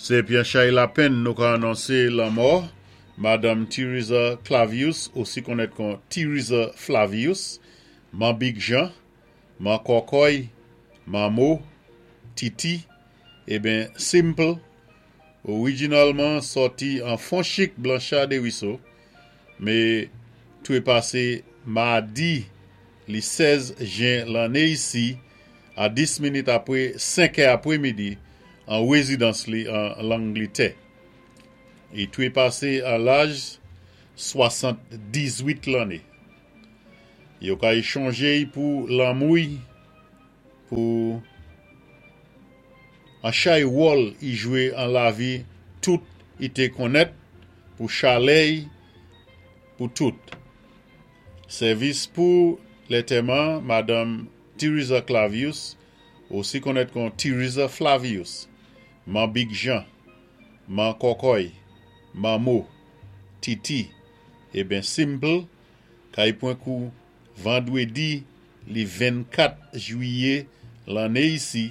Sé pi an chay lapenn nou ka anonsé lanmò Madanm Theresa Clavius, osi konnèt kon Theresa Flavius, Man Big Jean, Man Kòkòy, Manmo, Titi, eben Simple, orijinalman sòti an Fonchik Blanchard Desruisseaux, mé twé pasé madi li 16 jen lanné isi a 10 minit apwé 5 è apwémidi an wézidans li an Langlitè. I twé pasé an laj 78 lanné. Yo kay chonjé-y pou lanmou-y pou an chay wòl i jwé an lavi tout i té konnèt, pou chalè-y pou tout. Sèvis pou lantèman Madanm Theresa Clavius, osi konnèt kon Theresa Flavius, Man Big Jean, Man Kòkòy, Manmo, Titi, eben Simple, kay pwan kou vandwédi li 24 jwiyé lanné isi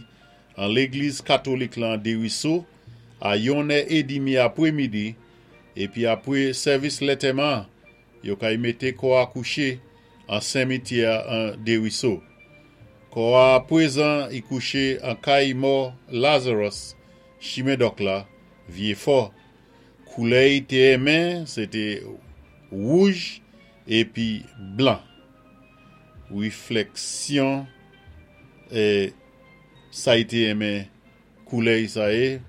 an légliz katolik lan Desruisseaux a yon è édmi apwémidi, épi apwé sèvis lantèman yo kay mété kò a kouché an senmityè an Desruisseaux. Kò a pwézan i kouché an kay mò Lazarus, Chimen Dòk la, Vyéfò. Koulè i té enmen, sé té wouj épi blan. Wiflèksyon sa i té enmen koulè i sa yé.